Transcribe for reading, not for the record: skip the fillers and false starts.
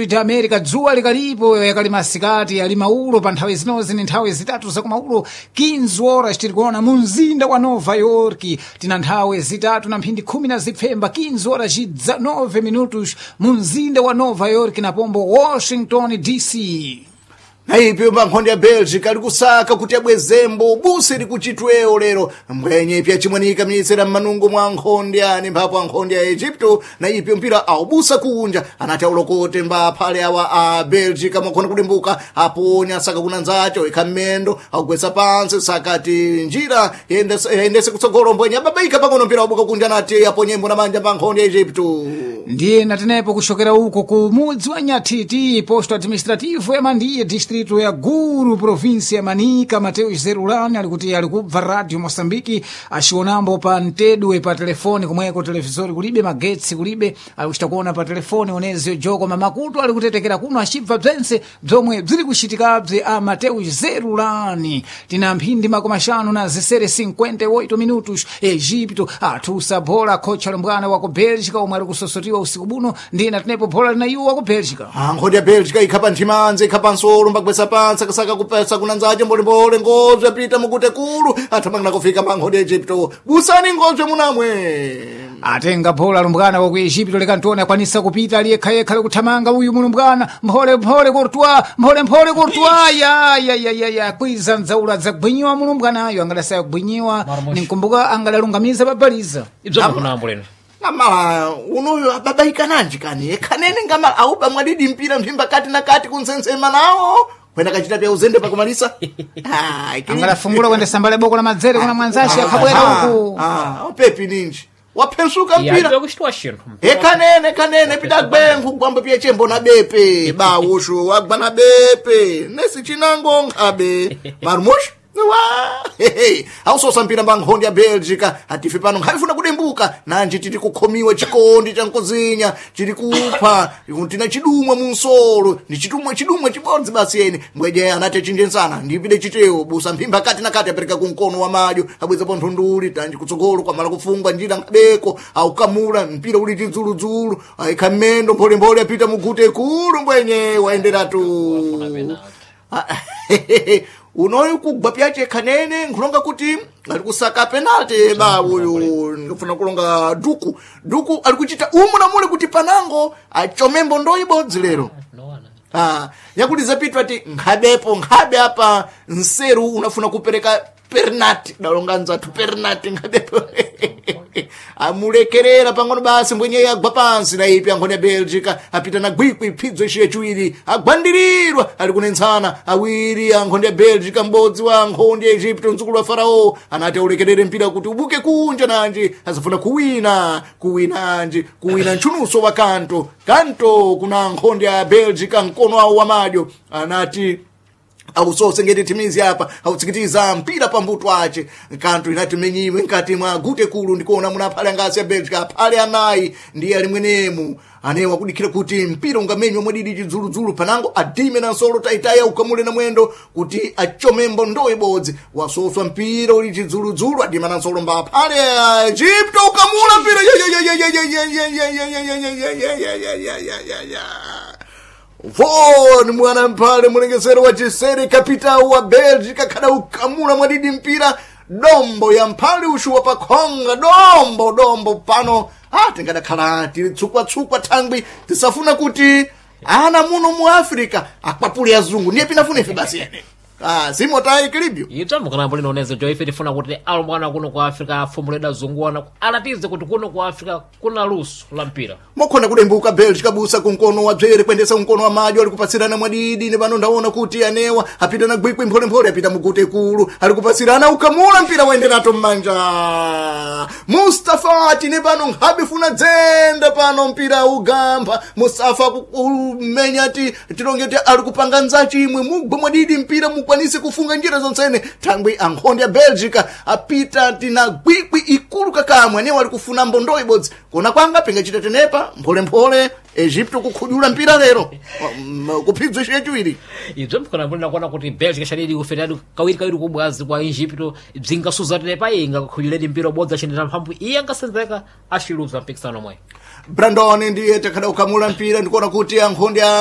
De América dzuwa likalipo yakali masikati ali maulo pa nthawi zinozi ni nthawi zitatu zakumaulo 15 horas tiri kuona mu mzinda wa Nova York tina nthawi zitatu na mphindi khumi na zipfemba 15 horas e 19 minutos mu mzinda wa Nova York na pombo Washington DC. Naipi pa nkhondo ya Belgica ali kusaka kuti abwezembo busi likuchitwewo lero mbwenye ipya chimwanika miyitsera m'manungo mwa nkhonde ani mphapo ankhonde ya Egypto na ipyo mpira aubusa kunja anati aulokote mbaphale awa a Belgica mwakhona kudimbuka aponya saka kuna nzacho ikha mmendo augwetsa pansi sakati njira yendese kutsogolo mbwenye ababaika pang'ono mpira wabuka kunja anati aponyembo na manja pa nkhonde ya Egypto. Ndiye natenepo kuxokera uko ku mudzi wa Nyathiti, posto administrativo ya Mandiye, distrito ya Guru, província ya Manica. Mateus Zerulani ali kuti ali kubva radio Moçambique axionambo pa mtedwe pa telefoni komweko televisori kulibe magetsi kulibe ali kuchita kuona pa telefoni onezio joko mamakutu ali kutetekera kuno acibva bzense bzomwe bziri kuxitikabze a Mateus Zerulani. Tina mphindi makumi axanu na zisere 58 minutos. Egipto athusa bola khocha lumbwana wa ku Bélgica omwe ali kusosotiwa usiku buno ndiye natenepo bola lina iwo wa ku Bélgica. Nkhondo ya Belgica ikha nthimanzi ikha pansolo mbagwetsa pansi akasaka kupesa kuna nzache mbolembole ngozwe apita mukute kulu athamangana kufika pa nkhondo ya Egypto busani ngozwe munamwe. Atenga bola lumbwana wa ku Egipto lekantoni akwanisa kupita ali yekhayekha likuthamanga uyu mulumbwana mpholemphole Courtois, mpholemphole Courtois ya ya ya ya ya kwiza nzaula dzagwinyiwa mulumbwanayo angadasaya kugwinyiwa ninkumbuka angadalungamiza babaliza. Ibzo mukunambo lero. Ngamala unoyo ababaika nanji kani ekhanene ngamala auba mwadidi mpira mphimba kati na kati kunsensema nawo kwenda kachita pya uzende pakumalisa. Ah, angadafungula kuendesa mbale boko la madzere kuna mwanzace akhabwera uku. Opepi ninji waphensuka Ya mpira ibyo kuchitwa xinthu. Ekanene kanene pidagwengu kugwamba piye chembo na bepe bawushu wagwa na bepe nesi chinango nkhabe marumush wa ausosa mpira mba nkhondo ya Belgica atife pano nkhavifuna kudembuka nanji tiri kukhomiwa chikondi cha nkozinya tiri kupha tina chidumwa munsolo ni chidumwa chidumwa chibodzi basi yene mbweje anati achinjensana ndipide chitewo busa mphimba kati na kati apereka kumkono wa madyo abwezapo nthunduli tanji kutsogolo kwamala kufungwa njira nkhabeko aukamula mpira uli chidzuludzulu aikha mmendo mpholemphole apita mugute kulu mbwenye waenderatu. Unoyu kugwa pyache khanene nkhulonga kuti ali kusaka penalty ba uyu ndikufuna kulonga duku duku ali kuchita umu na mule kuti panango achomembo ndo ibodzi lero. Ah, yakuti zapitwa ti nkhabepo nkhabe apa nseru unafuna kupereka pernati dalonga nzathu pernati nkhabepo amulekerera pang'ono basi mbwenye agwa pansi na ipi ankhoni ya Belgica apita na gwikwi phidzo ixiye chiwiri agwandirirwa ali kunentsana awiri ankhoni ya Belgica m'bodzi wa ankhoni ya Egypto mdzukulu wa Farao anati aulekerere mpira kuti ubuke kunja nanji azafuna kuwina kuwinanji kuwina ntchunuso wa kanto kanto kuna nkhondo ya Belgica mkono awo wa madyo anati ausose ngeti thimizi apa autsikitiza mpira pambuto ace kanthu inati menyiwe nkati mwa gute kulu ndikuona muna aphale angasi ya Belgica aphale anayi ndiye ali mwenemu anewa kudikhira kuti mpira ungamenywa mwadidi chidzuludzulu panango adime na nsolo taitaya ukamule na mwendo kuti achomembo ndo ibodzi wasoswa mpira uli chidzuludzulu adima na nsolo mba aphale a Egypto ukamula mpira. Von mwana mphale mulengesero wa chisere kapitao wa Belgica kada ukamula mwadidi mpira dombo ya mphale ushuwa pakhonga dombo dombo pano tingadakhala tili tsukwatsukwa thangwi tisafuna kuti ana muno mu Africa akwapule azungu ndiye pinafuna ife basi ene simotayi kilibyo. Ibzo mukunambo lino onezo jo ife tifuna kuti alumbwana kuno ku Africa afumuleda zunguwana alatize kuti kuno ku Africa kuna luso la mpira. Mokhona kudembuka Belgica busa kumkono wa dzere kuendesa kumkono wa madyo ali kupatsirana mwadidi ne pano ndaona kuti anewa apita na gwikwi mpholemphole apita mugute kulu ali kupatsirana ukamula mpira waenderato mmanja Mustafa tine pano nkhabifuna dzenda pano mpira ugamba Mustafa kumenya ti tilonge ti ali kupanga nzachimwe mugwe mwadidi mpira mukwanise kufunga njira zonsene thangwi ankhondo ya Belgica apita tina gwikwi ikulu kakamwe anewa ali kufuna mbondo ibodzi kona kwanga pingachita tenepa mpholemphole Egipto kukhudula mpira lero kuphidzwa ixiye chiwiri. Ibzo mukunambo lino kuona kuti Belgica xadidi kufetadi kawiri kawiri kubwazi kwa Egypto bzingasuza tenepa inga kukhululedi mpira ubodzi achendera mphamvu iye angasenzeka axiluza mpikisano omwe. Brandon ndiye takhada ukamula mpira ndikuona kuti ankhondo ya